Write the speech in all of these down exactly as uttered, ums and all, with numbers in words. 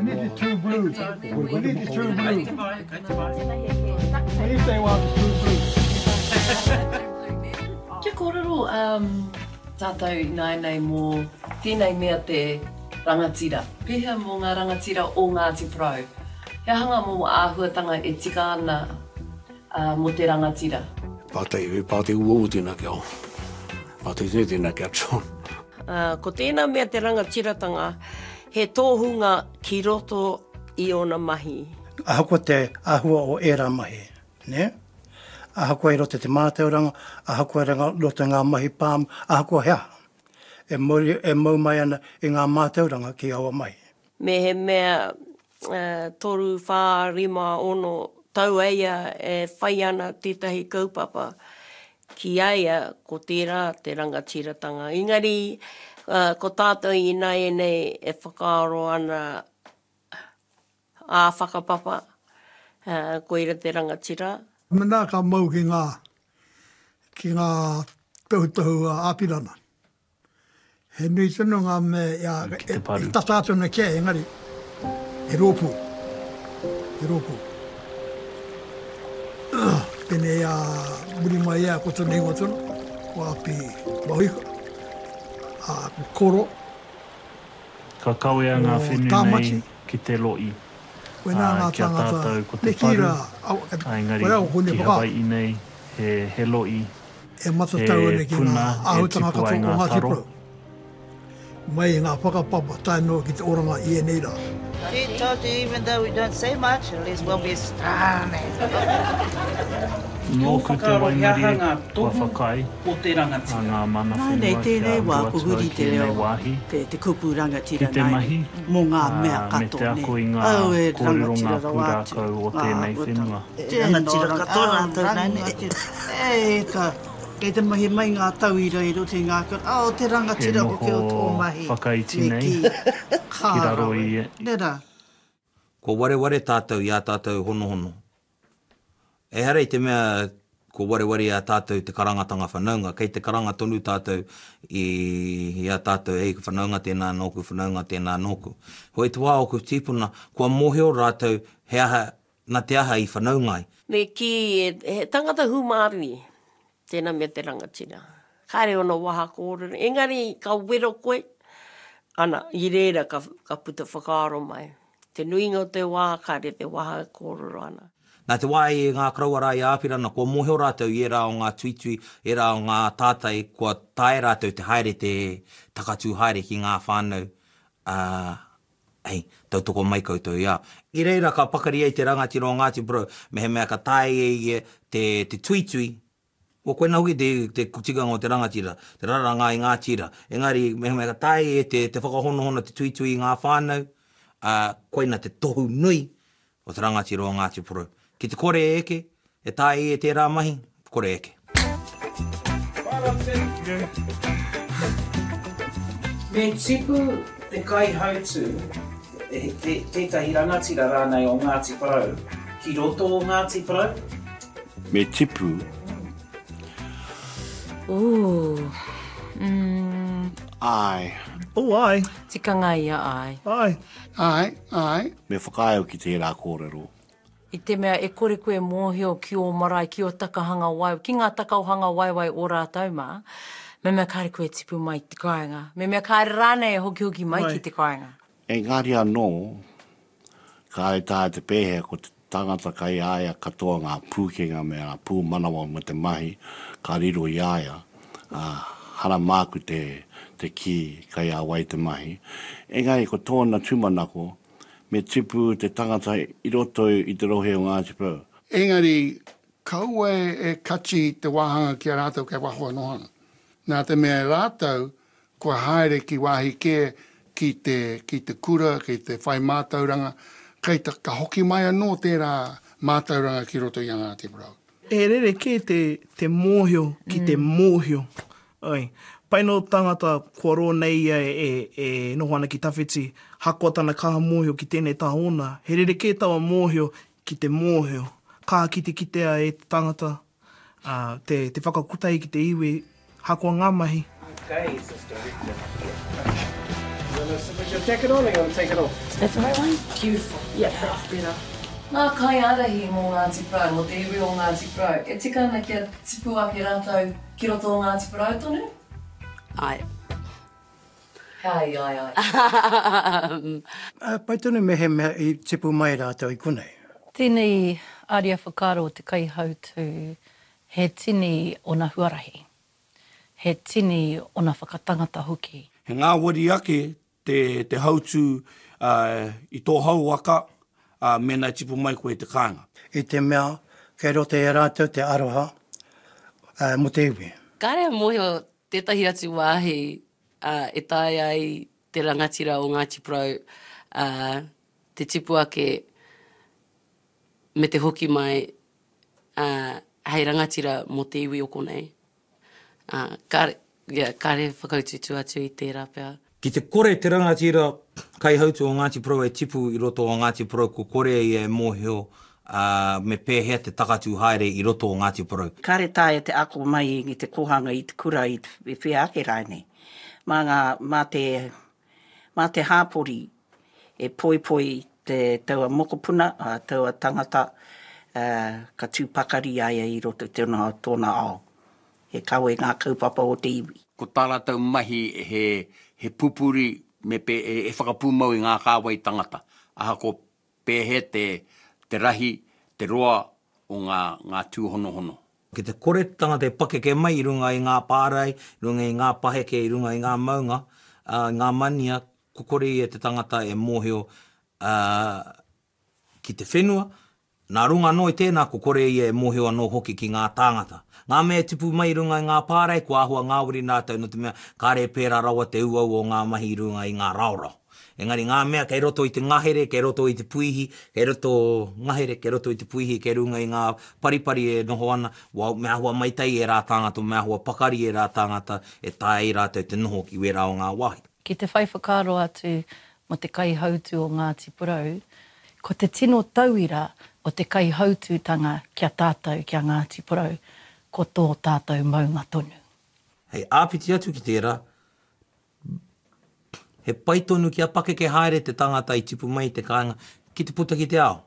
We need the true blue. We need the true blue. When you say well, the true blue. Kia kōrero um, tātou ināianei mō tēnei mea te rangatira. Pēhea mō ngā rangatira o Ngāti Porou? He aha ngā momo āhuatanga e tika ana uh, mō te rangatira? Pātai, he pātai uaua tēnā ki au. Pātai tēnei tēnā ki a John. Uh, ko tēnā mea te rangatiratanga, he tōhunga ki roto i ōna mahi. Ahakoa te āhua o ērā mahi, ne? Ahakoa i roto te mātauranga, ahakoa i roto ngā mahi pāmu, ahakoa he aha. E, mauri, e mau mai ana i ngā mātauranga ki aua mahi. Me he mea uh, toru, whā, rima, ono, tau eia e whai ana tētahi kaupapa ki a ia ko tērā te rangatiratanga. Engari, uh, ko tātou ināianei e whakaaro ana ā whakapapa, uh, koira te rangatira. Mena ka mau ki ngā, ki ngā tohutohu a Apirana. He nui tonu ngā me, ia, e, e tata atu ana kia, engari, he rōpū. He rōpū. Pēnei a muri mai ia ko tōna ingoa tonu, ko Api Mahuika, a ko Koro, Ka kawea ngā ko whenu Tāmati, nei ki te lo'i, koinā ā, ngā ki a tāngata, tātou ko me te kī paru, rā, au, ā, engari koe au, ko ki Hune Whakaaro. Hawai'i nei he, he lo'i, E matatau he ana ki ngā puna e āhuatanga tipu ai katoa o ngā Ngāti taro. Porou. Mai i ngā whakapapa tae noa ki te oranga i ēnei rā. She told you even though we don't say much, at least we'll be strong. Ki ō Nōku te whakaaro he aha waimarie ngā kua tohu whakaae o te a rangatira? ngā mana Nāinei whenua kia tēnei wā uru ko atu huri au ki te ēnei reo, wāhi te, te kupu ki rangatira te nāinei, mahi, mō ngā ā, mea me te katoa, nē. ako i ngā Au e kōrero ngā rangatira rawa atu, pūrākau o ngā tēnei āhuatanga. whenua. Tēnā Rangatira ranga, katoa au, rātou nāinei. rangatira. E ka, kei te mahi mai ngā tauira i roto i ngā kura, oh, te E rangatira hoki o tō noho mahi, whakaiti me nei kī, ka ki raro rawe. i Nē rā? Kua wareware tātou i ā tātou honohono. Ehara i te mea kua wareware i a tātou te karangatanga whanaunga, kei te karanga tonu tātou i, i a tātou, ei, whanaunga tēnā nōku, whanaunga tēnā nōku. Hoi te wā o ku tīpuna, kua mōhio rātou he aha, nā te aha i whanaunga ai. Me kī, he, he tangata hūmārie, tēnā mea te rangatira. Kāre ona waha kōrero, engari ka wero koe, ana, i reira ka, ka puta whakaaro mai. Te nuinga o te wā, kāre te waha kōrero ana. Nā te wā i ngā koroua rā i Āpirana, kua mōhio rātou i ērā o ngā tuitui, ērā o ngā tātai, kua tae rātou te haere te takatū haere ki ngā whānau, uh, hei, tautoko mai koutou i a. I reira ka pakari ai te rangatira o Ngāti Porou, mehemea ka tae e ia te, te tuitui, o koina hoki te, te tikanga o te rangatira, te raranga i ngā tira. Engari, mehemea ka tae e te, te whakahonohono te tuitui i ngā whānau, uh, koina te tohu nui o te rangatira o Ngāti Porou. Ki te kore e eke, e tae e tērā mahi, kore eke. Me tipu te kaihautū, te, tētahi rangatira rānei o Ngāti Porou, ki roto o Ngāti Porou? Me tipu. Ooh. Mm. Ai. Oh, ai. Tikanga ia, ai. Ai. Ai, ai. Me whakaae au ki tērā kōrero. I te mea e kore koe mōhio ki ō marae, ki ō takahanga wai, ki ngā takaohanga waiwai o rātou mā, me mea kāre koe tipu mai te kāinga. Me mea kāre rānei e hokihoki mai ki te kāinga. Engari anō, kāre tā te pēhea ko te tangata kai a ia katoa ngā pūkenga me ngā pūmanawa me te mahi, ka riro i a ia, uh, hara māku te, te kī kai a wai te mahi. Engari ko tōna tūmanako, me tipu te tangata i roto i te rohe o Ngāti Porou. Engari, kaua e kachi te wāhanga ki a rātou kei waho e noho ana. Nā te mea rātou kua haere ki wāhi kē ki te, ki te kura, ki te whai mātauranga, kei ta, ka hoki mai anō tērā mātauranga ki roto i a Ngāti Porou. E rere kē te, te mōhio ki te mōhio. Oi. Pai no tangata kua rō nei ia e, e, e noho ana ki tawhiti, hakoa tana kaha mōhio ki tēnei tā ōna. He rere kē taua mōhio ki te mōhio. Ka kite kitea e te tangata, uh, te, te whakakotahi ki te iwi, hakoa ngā mahi. Okay, is this director here? Put your jacket on or you want to take it off? Is that the right one? Beautiful. Yeah, that's better. Ngā kaiārahi mō Ngāti Porou, mō te iwi o Ngāti Porou, e tika ana kia tipu ake rātou ki roto o Ngāti Porou tonu? Āe. Ai, ai, ai. Pai tonu mehemea i tipu mai rātou i konei. Tēnei aria whakaaro o te kaihautū, he tini ona huarahi, he tini ona whakatangata hoki. He ngāwari ake te, te hautū i tō hauwaka, ā, mēnā i tipu mai koe i te kāinga. I te mea kei roto i a rātou te aroha mō te iwi. Kāre e mōhio tētahi atu wāhi e taea ai te rangatira o Ngāti Porou te tipu ake me te hoki mai hei rangatira mō te iwi o konei. Kāre, yeah, kāre e whakautuutu atu i tērā pea. Ki te kore te rangatira kaihautu o Ngāti Porou e tipu i roto o Ngāti Porou ko kore ia e mōhio me pēhea te takatū haere i roto o Ngāti Porou. Kāre taea te ako mai i te kōhanga, i te kura, i te whea ake rānei. Mā ngā, mā te, mā te hāpori e poipoi te taua mokopuna, taua tangata, ka tū pakari a ia i roto i tōna, tōna ao. He kawe ngā kaupapa o te iwi. Ko tā rātou mahi he, he pupuri me pē, e whakapūmau i ngā kāwai tangata, ahakoa pēhea te, te rahi, te roa o ngā, ngā tūhonohono. Ki te kore te tangata e pakeke mai i runga i ngā pārae, i runga i ngā paheke, i runga i ngā maunga, ā, i ngā mania, ko kore ia te tangata e mōhio, ā, ki te whenua, nā runga anō i tēnā ko kore ia e mōhio anō hoki ki ngā tāngata. Ngā mea e tipu mai i runga i ngā pārae, kua āhua ngāwari rātou nō te mea kāre e pērā rawa te uaua o ngā mahi i runga i ngā raorao. Engari ngā mea kei roto i te ngahere, kei roto i te puihi, kei roto ngahere, kei roto i te puihi, kei runga i ngā paripari e noho ana, wā, me āhua maitai ērā tāngata, me āhua pakari ērā tāngata e taea ai rātou te noho ki wērā o ngā wāhi. Ki te whai whakaaro atu mō te kaihautū o Ngāti Porou, ko te tino tauira o te kaihautūtanga ki a tātou, ki a Ngāti Porou, ko tō tātou maunga tonu. Hei āpiti atu ki tērā, he pai tonu kia pakeke haere te tangata i tipu mai i te kāinga ki te puta ki te ao.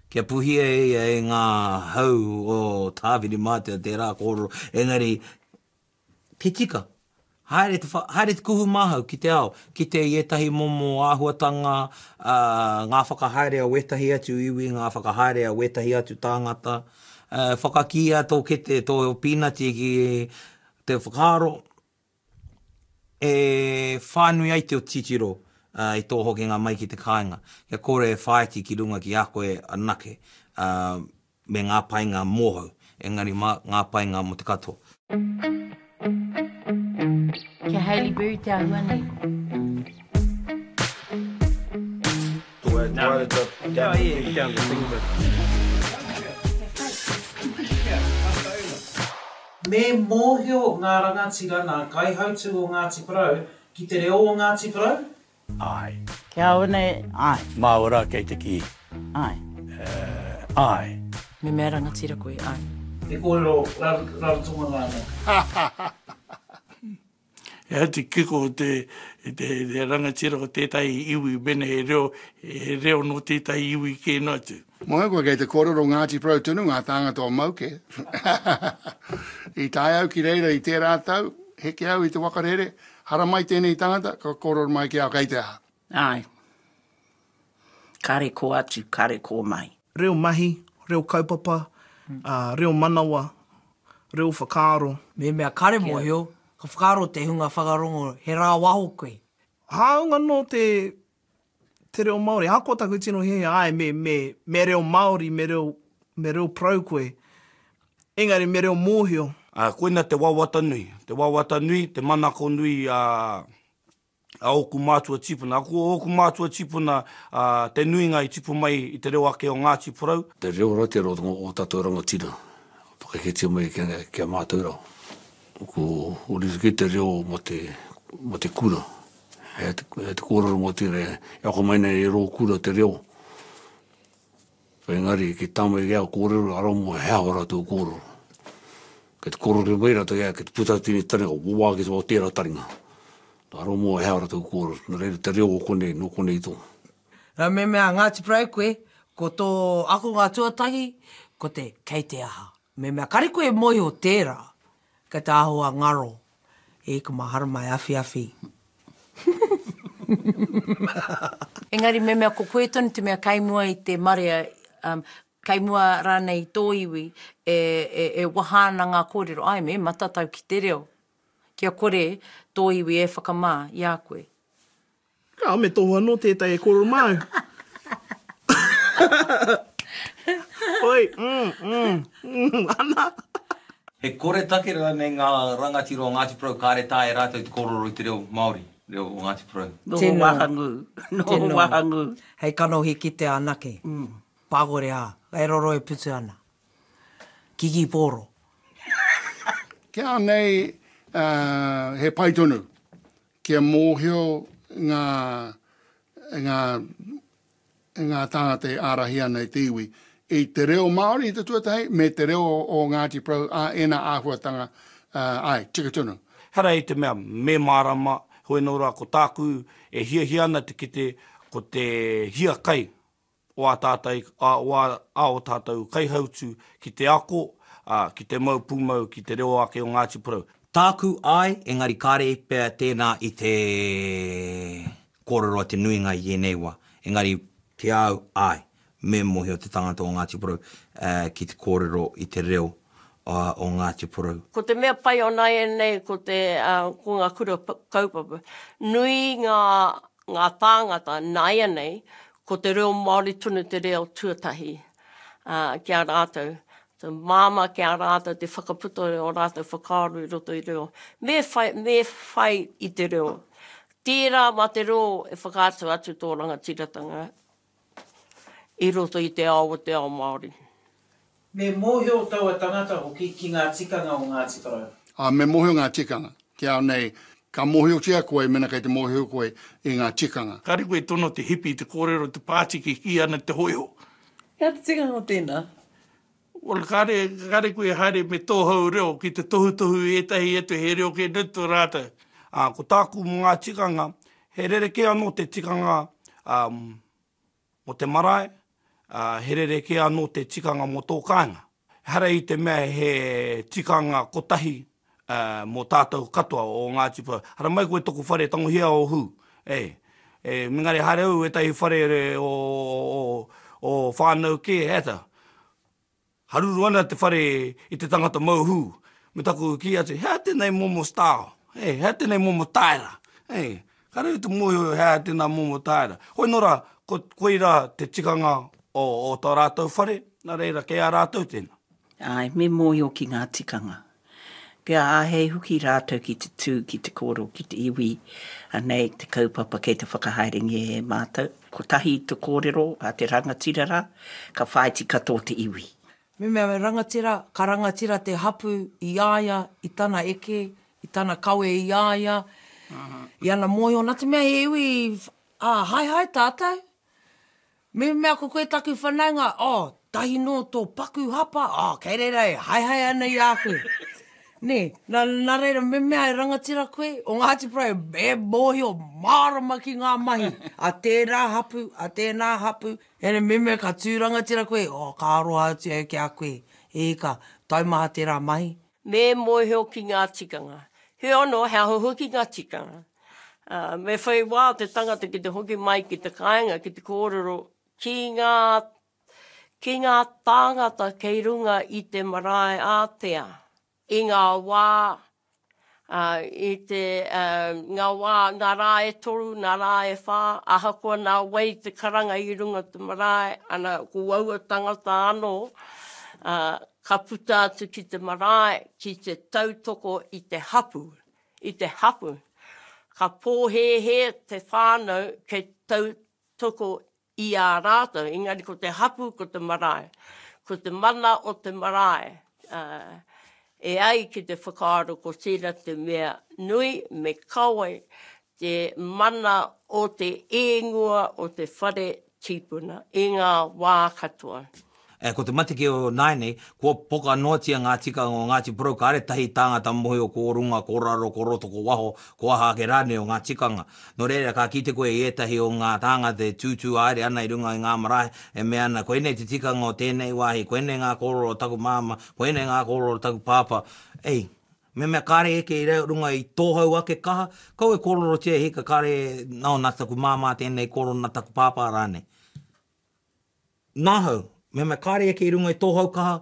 Kia puhia e ia e ngā hau o Tāwhirimātea tērā kōrero, engari te tika, haere te, haere te kuhu māhau ki te ao, kite i ētahi momo āhuatanga, ā, ngā whakahaere a wētahi atu iwi, ngā whakahaere a wētahi atu tāngata, ā, whakakīia tō kete, tō pīnati ki te whakaaro, e whānui ai te titiro i tō hokinga mai ki te kāinga, kia kore e whāiti ki runga ki a koe anake me ngā painga mōhou, engari mā ngā painga mō te katoa. Kia Hailey Berry te āhua nei. Me mōhio ngā rangatira nā kaihautū o Ngāti Porou ki te reo o Ngāti Porou? Āe. Kia au nei, āe. Māua rā kei te kī. Āe. Āe. Me mea rangatira koe, āe. He kōrero Rarotonga rānei. He atu kiko te, te, te rangatira o tētahi iwi, mena he reo, he reo nō tētahi iwi kē noa atu. Moe koe kei te kōrero Ngāti Porou tonu ngā tāngata o Mauke. I tae au ki reira i tērā tau, heke au i te waka rere, haramai tēnei tangata, ka kōrero mai ki au kei te aha. Āe. Kare kō atu, kare kō mai. Reo mahi, reo kaupapa, reo manawa, reo whakaaro. Mehemea kare mōhio, ka whakaaro te hunga whakarongo he rāwaho koe. Hāunga nō te, te reo Māori, ahakoa taku tino hiahia, āe, me, me, me reo Māori, me reo, me reo parau koe, engari me reo mōhio. Ā, koina te wawata nui, te wawata nui, te manako nui a, a ōku mātua tīpuna. Ko ōku mātua tīpuna, ā, te nuinga i tipu mai i te reo ake o Ngāti Porou. Te reo rā tērā o ō tātou rangatira, whakaheketia mai ki a mātou rā. Ko rerekē te reo mō te, mō te kura. He te, he te kōrero mō tērā, e ako mai nei e rō kura te reo. Engari, ki tāmai ki au kōrero, ara mō he aho rātou kōrero. Kei te kōrero mai rātou, ia, kei te puta tēnei taringa, wā ki te wā tērā taringa. Aro mō he ara tau kōrero, nā reira te reo o konei, nō konei tō. Nā me mea Ngāti Porou koe, ko tō akonga tuatahi, ko te kei te aha. Me mea kare koe e mōhio tērā, kei te āhua ngaro, e ika mā haramai awhiawhi. Engari me mea ko koe tonu te mea kei mua i te marea, um, kei mua rānei i tō iwi e, e, e waha ana ngā kōrero, ai me matatau ki te reo. Kia kore tō iwi e whakamā i a koe. Ka, me tohu anō tētahi e kōrero māu. Oi, mm, mm, mm, ana. He koretake rānei ngā rangatira o Ngāti Porou kāre taea e rātou te kōrero i te reo Māori, reo o Ngāti Porou? Noho wahangū, noho wahangū. Hei kanohi kitea anake. Pākore ā, kei roro e putu ana. Kiki pōro. Kia nei, he pai tonu kia mōhio ngā, ngā, ngā tāngata e ārahi ana i te iwi i te reo Māori i te tuatahi me te reo o Ngāti Porou, ā, ēnā āhuatanga, āe, tika tonu. Ehara i te mea me mārama, heoi anō rā ko tāku e hiahia ana te kite ko te hiakai o ā tātai, o ā, ā o tātou kaihautū ki te ako, ā, ki te mau pūmau ki te reo ake o Ngāti Porou. Tāku, āe, engari kāre pea tēnā i te kōrero a te nuinga i ēnei wā. Engari, ki a au, āe, me mōhio te tangata o Ngāti Porou ki te kōrero i te reo o Ngāti Porou. Ko te mea pai o nāianei ko te, ko ngā kura kaupapa. Nui ngā, ngā tāngata nāianei Ko te reo Māori tonu te reo tuatahi ki a rātou. Te māmā ki a rātou te whakaputa i ō rātou whakaaro i roto i reo. Me whai, me whai i te reo. Tērā mā te reo e whakaatu atu tō rangatiratanga i roto i te ao o te ao Māori. Me mōhio taua tangata hoki ki ngā tikanga o Ngāti Porou. Ā, me mōhio ngā tikanga. Ki au nei, ka mōhiotia koe mēnā kei te mōhio koe i ngā tikanga. Kāre koe e tono te hipi i te kōrero te pātiki kī ana te hōiho. He aha te tikanga o tēnā? Well, kāre, kāre koe e haere me tōhou reo ki te tohutohu i ētahi atu he reo kē nei tō rātou. Ā, ko tāku mō ngā tikanga, he rerekē anō te tikanga, ā, mō te marae, ā, he rerekē anō te tikanga mō tō kāinga. Ehara i te mea he tikanga kotahi mō tātou katoa o Ngāti Porou. Haramai koe toku whare, tangohia ō hū. E, e, engari haere au ētahi whare o, o, o whānau kē, ēta. Haruru ana te whare i te tangata mau hū. Me taku kī atu, he aha tēnei momo style? E, he aha tēnei momo taera? E, kāre au te mōhio he aha tēnā momo taera. Hoi nō rā, ko, koirā te tikanga o, o tā rātou whare, nā reira, kei a rātou tēnā. Āe, me mōhio ki ngā tikanga. Kia āhei hoki rātou ki te tū, ki te kōrero ki te iwi, anei te kaupapa kei te whakahaerengia e mātou. Kotahi te kōrero a te rangatira rā, ka whāiti katoa te iwi. Me mea me rangatira, ka rangatira te hapu i a ia, i tana eke, i tana kawe i a ia, i ana mōhio, nā te mea he iwi, ā, haehae tātou. Me mea ko koe taku whanaunga, oh, tahi nō tō paku hapa, oh, kei reira e haehae ana i a koe. Nē, nā, nā reira, me mea e rangatira koe, o Ngāti Porou, e mōhio mārama ki ngā mahi a tērā hapu, a tēnā hapu, ene, me mea ka tū rangatira koe, oh, ka aroha atu au ki a koe, e ika, taumaha tērā mahi. Me mōhio ki ngā tikanga. Heoi anō, he aha hoki ngā tikanga? Ā, me whai wā te tangata ki te hoki mai ki te kāinga ki te kōrero ki ngā, ki ngā tāngata kei runga i te marae ātea i ngā wā, ā, i te, ā, ngā wā, ngā rā e toru, ngā rā e whā, ahakoa nā wai te karanga i runga te marae, ana, ko aua tangata anō, ā, ka puta atu ki te marae ki te tautoko i te hapū. I te hapu. Ka pōhēhē te whānau kei tautoko i a rātou, engari ko te hapu ko te marae. Ko te mana o te marae, e ai ki te whakaaro ko tērā te mea nui me kawe te mana o te ēngoa o te whare tīpuna i ngā wā katoa. E, ko te matike o nāianei, kua poka noatia ngā tikanga o Ngāti Porou, kāre tahi tāngata mōhio ko runga, ko raro, ko roto, ko waho, ko aha ake rānei o ngā tikanga. Nō reira, ka kite koe i ētahi o ngā tāngata e tūtū haere ana i runga i ngā marae, e mea ana, koinei te tikanga o tēnei wāhi, koinei ngā kōrero o taku māmā, koinei ngā kōrero o taku pāpā. Ei, mehemea kāre eke i runga i tōhau ake kaha, kaua e kōrerotia e hika, kāre, nō, nā taku māmā tēnei kōrero, nā taku pāpā rānei. Nāhau, mehemea kāre eke i runga i tōhau kaha,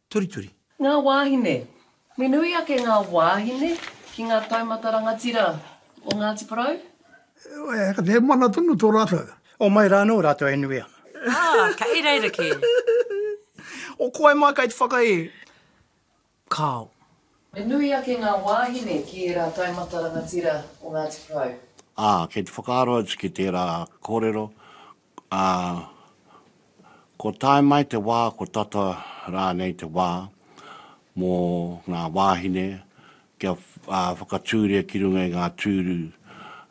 turituri. Ngā wāhine. Me nui ake ngā wāhine ki ngā taumata rangatira o Ngāti Porou? He mana tonu tō rātou. O mai rā anō rātou e nui ana. Ah, kei reira kē. O koe mai kei te whakaē. Kāo. Me nui ake ngā wāhine ki ērā taumata rangatira o Ngāti Porou? Ā, kei te whakaaro atu ki tērā kōrero, ā, ko tae mai te wā, ko tata rānei te wā mō ngā wāhine kia whakatūria ki runga i ngā tūru,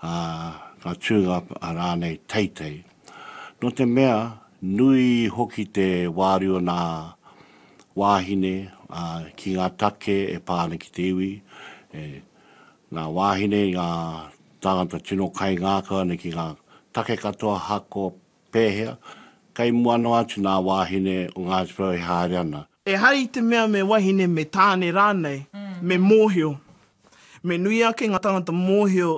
ā, ngā tūnga rānei teitei. Nō te mea, nui hoki te wāriu o ngā wāhine, ā, ki ngā take e pā ana ki te iwi, e, ngā wāhine, ngā tāngata tino kaingākau ana ki ngā take katoa ahakoa pēhea, kei mua noa atu ngā wāhine o Ngāti Porou e haere ana. Ehara i te mea me wahine me tāne rānei, me mōhio. Me nui ake ngā tangata mōhio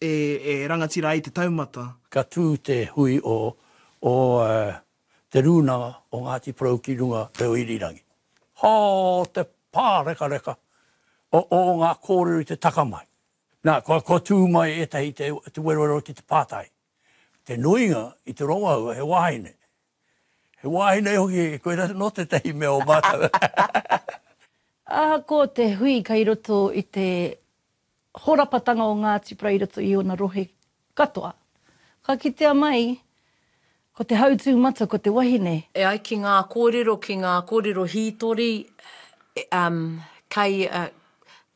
e, e rangatira ai te taumata. Ka tū te hui o, o Te Rūnanga o Ngāti Porou ki runga reo irirangi. Hō te pārekareka o, o ngā kōrero i te taka mai. Nā, kua, kua tū mai ētahi te, te werowero ki te pātai. Te nuinga i te rongoaua he wāhine. He wāhine hoki, koirā nō tētahi mea o mātou. Ahakoa te hui kei roto i te horapatanga o Ngāti Porou i roto i ōna rohe katoa, ka kitea mai ko te hautū matua ko te wahine. E ai ki ngā kōrero, ki ngā kōrero hītori, um, kei, uh,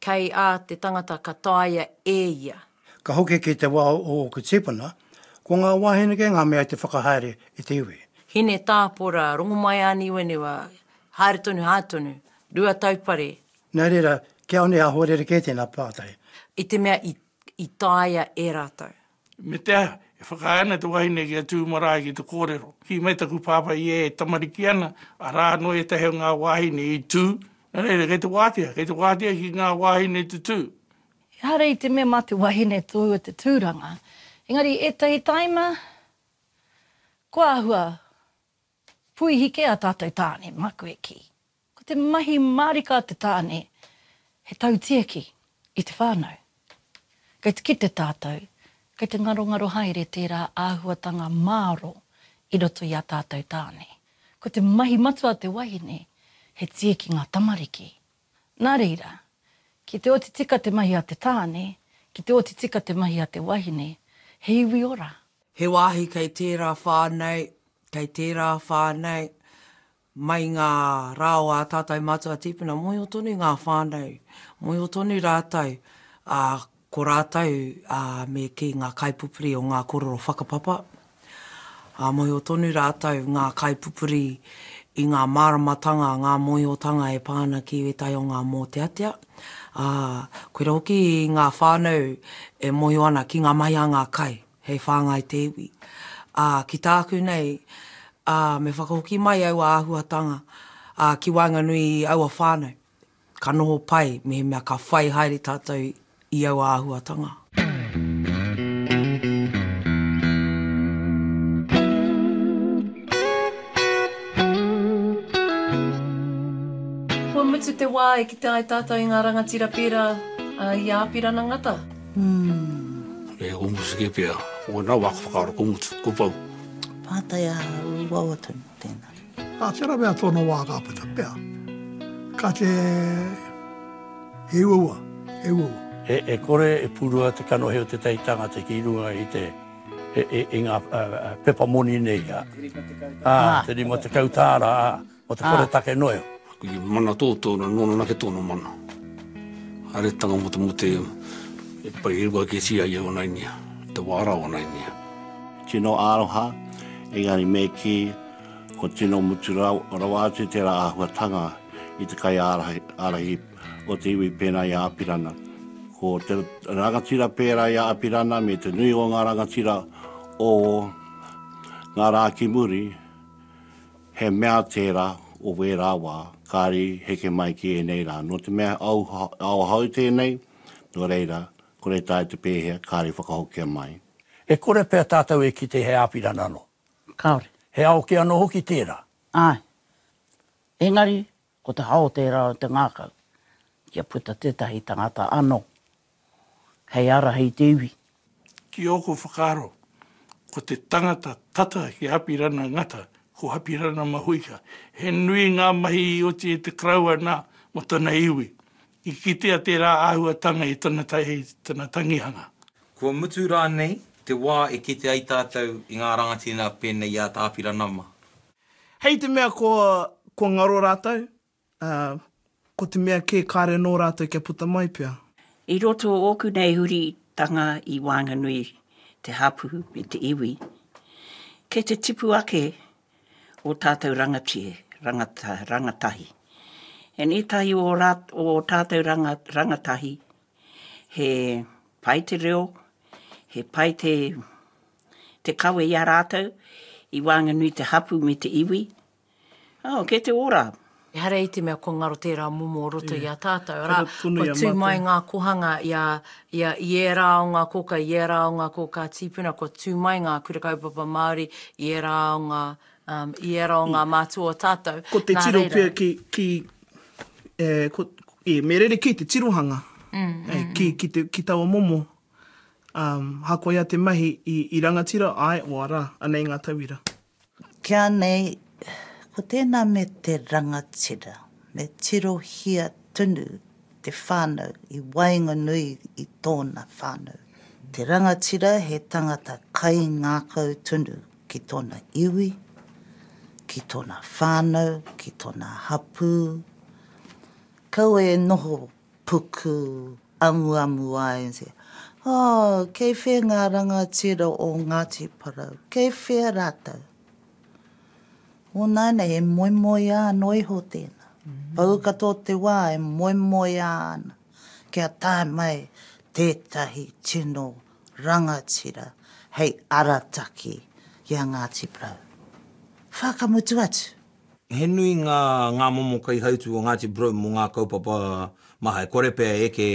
kei a te tangata ka taea e ia. Ka hoki ki te wā o ōku tīpuna, ko ngā wāhine kē ngā mea i te whakahaere i te iwi. Hine Tāpora, Rongomaiāniwaniwa, haere tonu, haere tonu, Ruataupare. Nā reira, kia one āhua rerekē tēnā pātai. I te mea i, i taea e rātou. Me te aha, e whakaae ana te wahine kia tū marae ki te kōrero. Kī mai taku pāpā i e tamariki ana, arā anō ētahi o ngā wāhine i tū, nā reira, kei te wātea, kei te wātea ki ngā wāhine te tū. Ehara i te mea mā te wahine tōua te tūranga, engari ētahi taima, kua āhua puihi kē a tātou tāne, māku e kī. Ko te mahi mārika a te tāne, he tautiaki i te whānau. Kei te kite tātou, kei te ngarongaro haere tērā āhuatanga māro i roto i a tātou tāne. Ko te mahi matua a te wahine, he tieki ngā tamariki. Nā reira, ki te oti tika te mahi a te tāne, ki te oti tika te mahi a te wahine, he iwi ora. He wāhi kei tērā whānau, kei tērā whānau, mai ngā rā o ā tātou mātua tīpuna, mōhio tonu ngā whānau, mōhio tonu rātou, ā, ko rātou, ā, me kī ngā kaipupuri o ngā kōrero whakapapa, ā, mōhio tonu rātou ngā kaipupuri i ngā māramatanga, ngā mōhiotanga e pā ana ki ētahi o ngā mōteatea, ā, koira hoki ngā whānau e mōhio ana ki ngā mahi a ngā kai hei whāngai te iwi. Ā, ki tāku nei, ā, me whakahoki mai aua āhuatanga, ā, ki waenganui i aua whānau, ka noho pai mehemea ka whai haere tātou i aua āhuatanga. Kua mutu te wā e kite ai tātou i ngā rangatira pērā i a Apirana Ngata. E ko mutu ke pea, ko na waka whakaaro ko mutu, ko pau. Pātai a uaua tonu tēnā. Ka tera mea tōna wā ka puta pea. Ka te he uaua, he uaua. E, e kore e purua te kanohi o tētahi tangata ki runga i te i, i, i ngā pepa moni nei, ā, ā, te rima tekau tāra, ā, o te kore take noa iho. I mana tō tōna, nōna nake tōna mana. Haeretanga mo te mo te e pai e rua ketia ia o nainia, te wā rā o nainia. Tino aroha, engari me kī, Ko tino mutu rawa atu tērā āhuatanga i te kaiārahi ārahi o te iwi pēnā i a Apirana. Ko te rangatira pērā i a Apirana me te nui o ngā rangatira o ngā rā ki muri, he mea tērā o wērā wā, kāre i heke mai ki ēnei rā. Nō te mea ao, ao hou tēnei, nō reira, kore taea te pēhea, kāre i whakahokia mai. E kore pea tātou e kite he Apirana anō. Kāore. He ao kē anō hoki tērā. Āe. Engari, ko te hao tērā o te ngākau, kia puta tētahi tangata anō hei ārahi i te iwi. Ki ōku whakaaro, ko te tangata tata ki Apirana Ngata, ko Apirana Mahuika. He nui ngā mahi i oti e te Karaua nā mō tana iwi. I kitea tērā āhuatanga i tana tana tangihanga. Kua mutu rānei te wā e kite ai tātou i ngā rangatira pēnei i a Tā Apirana mā? Hei te mea kua, kua ngaro rātou, ā, ko te mea kē kāre anō rātou kia puta mai pea. I roto o ōku nei huritanga i waenganui te hapū me te iwi, kei te tipu ake ō tātou rangatie, rangata, rangatahi. And ētahi o, rā, o tātou ranga, rangatahi, he pai te reo, he pai te, te kawe i a rātou, i waenganui te hapū me te iwi. Oh, kei te ora. Ehara i te mea kua ngaro tērā momo o roto i a tātou, arā, kua tū mai ngā kohanga i a, i a, i ērā o ngā kōka, i ērā o ngā kōkā tīpuna, kua tū mai ngā kura kaupapa Māori i ērā o ngā, um, i ērā o ngā mātua o tātou. Ko te Nā tiro reira. pea ki, ki, e, ko, e, me rerekē te tirohanga, Mm, mm, e, ki, ki, te, ki taua momo. Um, hakoia te mahi i, i rangatira, āe, oarā, anei ngā tauira. Kia nei, ko tēnā me te rangatira, me tirohia tonu te whānau i waenganui i tōna whānau. Te rangatira he tangata kaingākau tonu ki tōna iwi, ki tōna whānau, ki tōna hapū. Kaua e noho puku amuamu ai and say, Oh, kei whea ngā rangatira o Ngāti Porou? Kei whea rātou? Ōnāianei, e moemoeā anō iho tēnā. Pau katoa te wā e moemoeā ana kia tae mai tētahi tino rangatira hei arataki i a Ngāti Porou. Whakamutu atu. He nui ngā, ngā momo kaihautū o Ngāti Porou mō ngā kaupapa maha. E kore pea e eke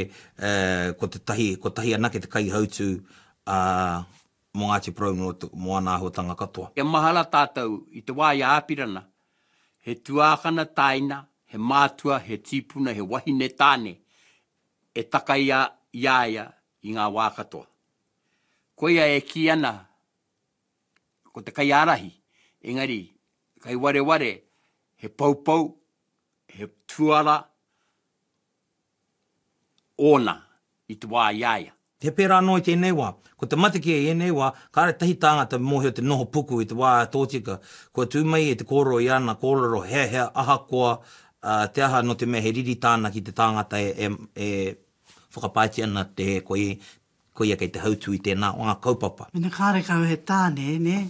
ko te tahi, kotahi anake te kaihautū, ā, mō Ngāti Porou mō, mō ana āhuatanga katoa. Kia mahara tātou i te wā i a Āpirana, he tuākana tāina, he mātua, he tīpuna, he wahine tāne e taka i a, i a ia i ngā wā katoa. Koia e kī ana ko te kaiārahi, engari kai wareware he poupou, he tuara ōna i te wā i a ia. He pērā anō i tēnei wā. Ko te mate kē i ēnei wā, kāre tahi tāngata mōhio te noho puku i te wā tōtika. Kua tū mai e te kōrero i ana kōrero heahea ahakoa te aha nō te mea he riri tāna ki te tāngata e, e whakapaetia ana te koia, koia kei te hautū i tēnā o ngā kaupapa. Mena kārekau he tāne, nē,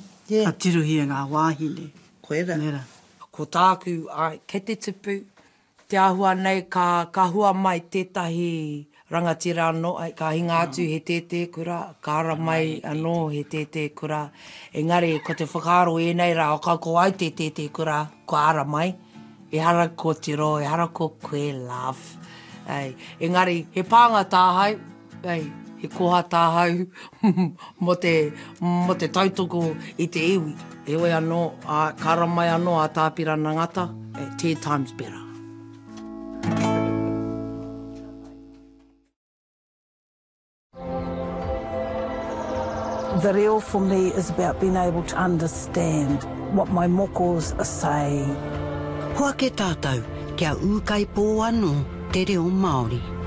ka tirohia ngā wāhine. Koira. Nē rā. Ko tāku, āe, kei te tupu, te āhua nei ka, ka hua mai tētahi rangatira anō, āe, ka hinga atu he tētē kura, ka ara mai anō he tētē kura. Engari, ko te whakaaro ēnei rā, ka ko au te tētē kura, kua ara mai, ehara ko Tiro, ehara ko koe, love. Āe, engari, he pānga tāhau, Ei, he koha tāhau mō te, mō te tautoko i te iwi. Heoi anō, ā, ka ara mai anō a Tā Apirana Ngata, e, ten times better. The reo for me is about being able to understand what my mokos are saying. Hoake tātou, kia ūkaipō anō te reo Māori.